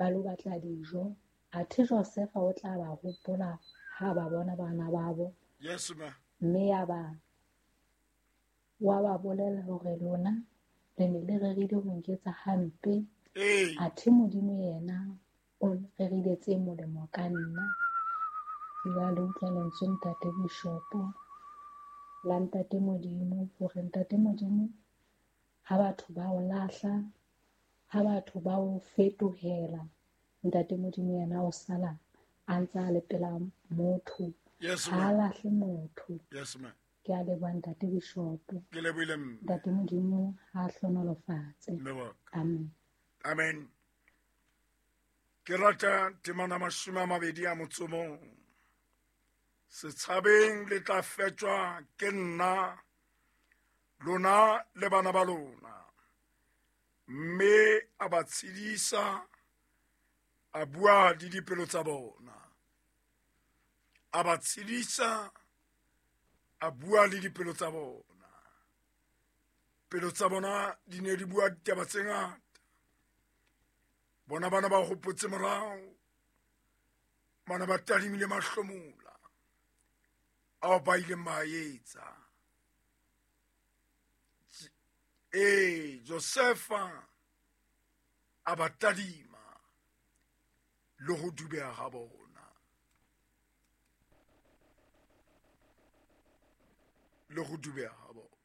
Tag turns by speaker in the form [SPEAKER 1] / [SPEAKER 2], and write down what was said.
[SPEAKER 1] ba lo batla dijo. Athe Josefa o tla ba hopola ha ba bona bana babo.
[SPEAKER 2] Yes, ma.
[SPEAKER 1] Mme ya ba wa ba bolella hore lona le ne le rerile ho nketsa hampe.
[SPEAKER 2] Ee.
[SPEAKER 1] Athe Modimo yena o rerile tse molemo ka nna. Jwale utlwa lentswe ntate Bishopo la ntate Modimo hore ntate Modimo ha batho ba o lahla, ha batho ba o fetohela, ntate Modimo yena o sala a ntse a le pela motho.
[SPEAKER 2] Yes,
[SPEAKER 1] Ha a
[SPEAKER 2] ma'am.
[SPEAKER 1] lahle motho.
[SPEAKER 2] Yes, ma'am.
[SPEAKER 1] Ke a leboha ntate Bishopo.
[SPEAKER 2] Ke lebohile mme.
[SPEAKER 1] Ntate Modimo ha a hlonolofatse.
[SPEAKER 2] Mme wa ka.
[SPEAKER 1] Amen.
[SPEAKER 2] Amen. Ke rata temana 21. Setshabeng le tla fetjwa ke nna, lona le bana ba lona. Mme a ba tshedisa, a bua le dipelo tsa bona. A ba tshedisa, a bua le dipelo tsa bona. Pelo tsa bona di ne di bua ditaba tse ngata. Bona bana ba hopotse morao, bana ba tadimile mahlomola ao ba ileng ba a etsa. Ee, Josefa a ba tadima le ho dubeha ga bona. Le ho dubeha ga bona.